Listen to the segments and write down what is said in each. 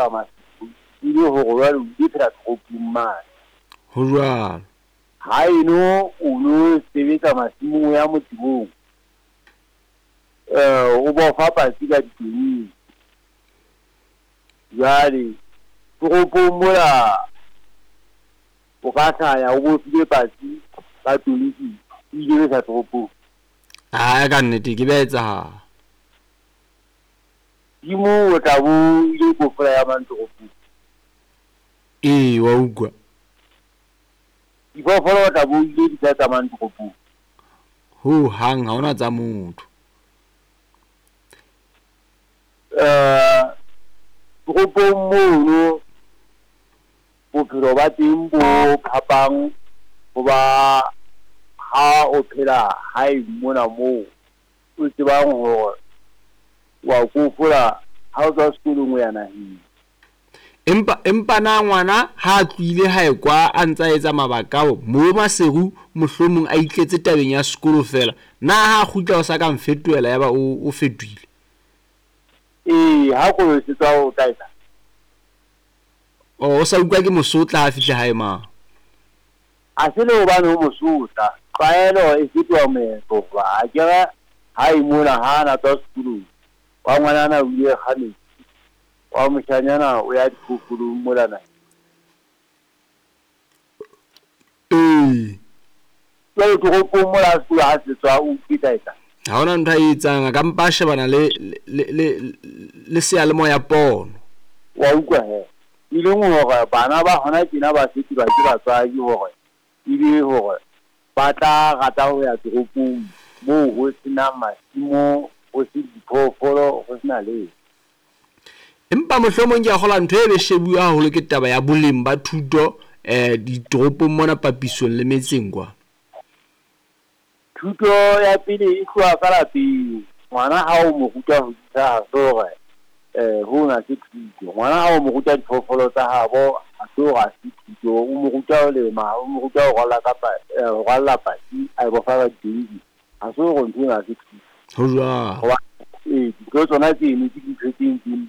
Maseru e le hore jwale o ile phela toropong mane. Ho jwalo. Haeno o no sebetsa masimong o ya motebong, o bofa patsi ka ditonki. Jwale toropong mola o ka hlaya o bofile patsi ka tonki, o ile besa toropong. Ae, ka nnete ke be etsahala. Timo o tla bo ile kofola ya mang toropong. Ee, wa utlwa. Diphoofolo o tla bo ile di tla tsamayang toropong. Ho hang ha hona tsa motho. Toropong mono bophelo ba teng bo phapang ho ba ha o phela hae mona moo o tsebang hore wa kofola ha o tswa sekolong o ya naheng. Empa na ngwana ha a tlohile hae kwa a ntsa etsa mabaka ao mo Maseru mohlomong a itletse tabeng ya sekolo fela, na ha a kgutla o sa ka mfetohela yaba o fetohile? Ee, ha kolo se tswa o tla etsa. O sa utlwa ke mosotla ha fihla hae mang? A se le hobane o mosotla, tlwaelo e fetoha moetlo hoba a kere hae mona ha ana tswa sekolong, wa ngwanana o ile kga metsi, wa moshanyana o ya diphoofolong mola naheng. Ee. Jwale toropong mola sekolo ha se tswa o utlwe etsa. Ha hona ntho a e etsang, a ka mpa a shebana le seyalemoya pono. Wa utlwa he. E leng hore bana ba hona tjena ba fetolwa ke batswadi hore ebe hore ba tla rata ho ya toropong moo ho senang masimo, ho se diphoofolo, ho sena letho. Empa mohlomong ke a kgolwa ntho e be shebuwa haholo ke taba ya boleng ba thuto ditoropong mona papisong le metseng kwa. Thuto ya pele e tloha ka lapeng. Ngwana ha o mo ruta ho disa ha se hore hona ke thuto. Ngwana ha o mo ruta diphoofolo tsa habo ha se hore ha se thuto. O mo ruta ho lema, o mo ruta ho rwalla kapa ho rwalla patsi a e bofa ka ditonki. Ha se hore ntho ena ha se thuto. Ho jwalo. Hoba dintho tsona tseno ke dintho tse ntseng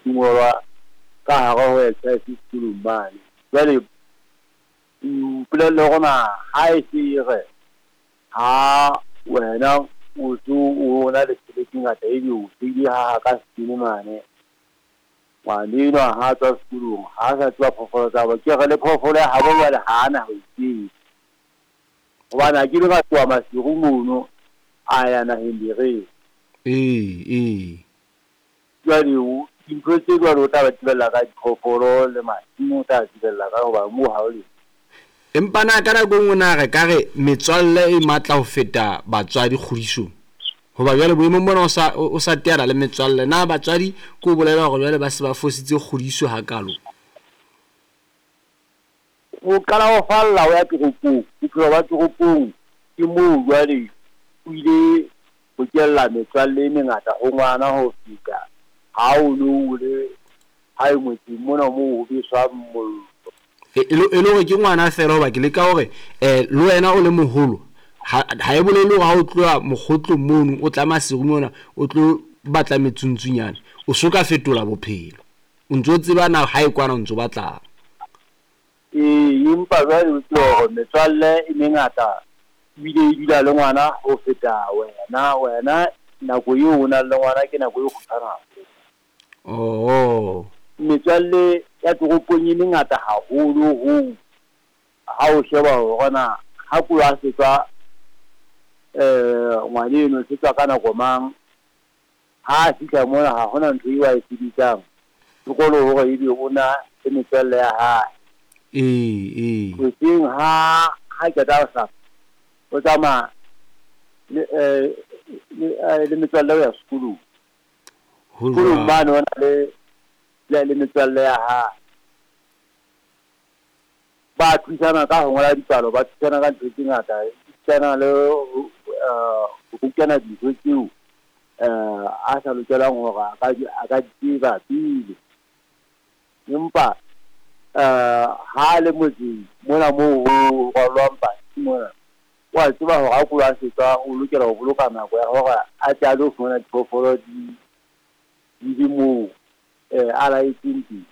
di ngolwa ka hare ho exercise sekolong mane. Jwale mpolelle hore na ha e se e re ha wena o so o na le tjhelete e ngata ebe o seile ha ka setene mane, ngwana enwa ha tswa sekolong ha sa tseba phoofolo tsa habo, ke re le phoofolo ya habo jwale ha ana ho e tseba. Hobane ha ke le ka tloha Maseru mono a ya naheng Bereng. Ee. Jwale dintho tse jwalo o tla ba tsebella ka diphoofolo le masimo, o tla tsebella ka hoba moo ha o le. Empa na ka nako e nngwe na re ka re metswalle e matla ho feta batswadi kgodisong? Hoba jwale boemong bona o sa teana le metswalle, na batswadi ke o bolela hore jwale ba se ba fositse kgodiso hakalo? Ho qala ho falla o ya toropong, bophelo ba toropong ke moo jwale o ile ho kella metswalle e mengata ho ngwana ho feta ha o no o le hae motseng mona moo ho beswang mollo. E le hore ke ngwana fela, hoba ke leka hore le wena o le moholo ha e bolele hore ha o tloha mokgotlong mono o tla Maseru mona o tlo batla metsuntsunyane, o so ka fetola bophelo, o ntso tseba na hae kwana o ntso batlang. Ee, empa jwale o tsebe hore metswalle e mengata ebile e dula le ngwana ho feta wena. Wena nako eo o nang le ngwana ke nako e kgutshwane haholo. Oh. Metswalle ya toropong e mengata haholo hoo ha o sheba hore na ha kolo a se tswa ngwana eno se tswa ka nako mang, ha a fihla mona ha hona ntho eo a e sebetsang, sekolo hore ebe o na le metswalle ya hae. Ee. Hoseng ha qeta ho hlapa, o tsamaya le metswalle ho ya sekolong. Sekolong mane o na le metswalle ya hae. Ba thusana ka ho ngola dipalo, ba thusana ka ntho tse ngata, thusana le ho rutana dintho tseo a sa lokelang hore a ka di tseba pele. Empa ha le motseng mona moo ho rwallwang patsi mona, wa tseba hore ha kolo a se tswa o lokela ho boloka nako ya hore a tle a lo fumana diphoofolo di le moo a laetseng teng.